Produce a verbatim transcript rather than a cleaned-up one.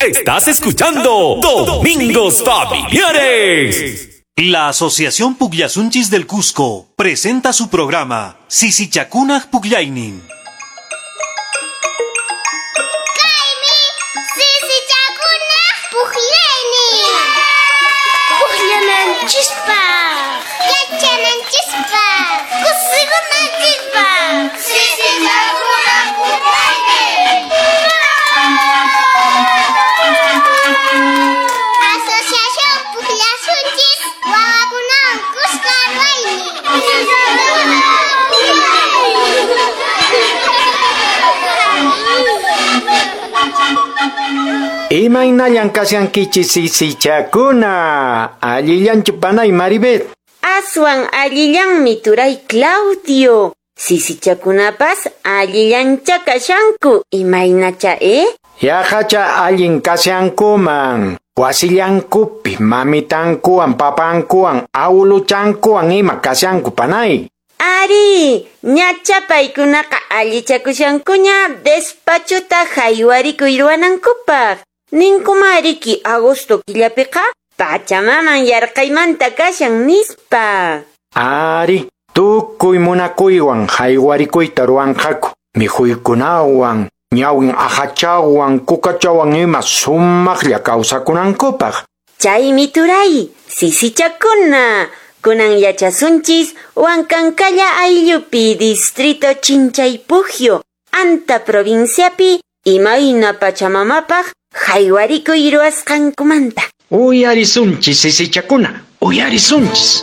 Estás escuchando Domingos Familiares. La Asociación Pukllasunchis del Cusco presenta su programa Sisichakunaq Pukllaynin. Kaymi sisichakunaq pukllaynin. Pukllananchispaq, yachananchispaq, kusikunanchispaq. Sisichakunaq pukllaynin. Asociación Pukllasunchis wawakunawan kuska ruwaynin. Imaynallan kashankichis sisichakuna? Allillanchu panay Maribel? Aswan allillanmi turay Claudio. Sisichakunapas allillancha kashanku. Imaynacha, eh? Yaqacha allin kashankuman. Wasillankupi mamitankuwan papankuwan awuluchankuwan ima kashanku panay. Ari, ñacha paykunaqa allichakushankuña despachuta haywarikuy ruwanankupaq. Ninkumariki agosto killapiqa pachamaman yarqaymanta kashan nispa. Ari, tukuy munakuywan haywarikuyta ruwanqaku. Mikhuykunawan, ñawin ahachawan, kukachawan ima sumaqlla kawsakunankupaq. Chaymi turay, sisichakuna. Kunan yachasunchis Huancancalla ayllupi distrito Chinchaypujio, Anta provinciapi imayna pachamamapaq haywarikuy ruwasqankumanta. Uyarisunchis sisichakuna, uyarisunchis.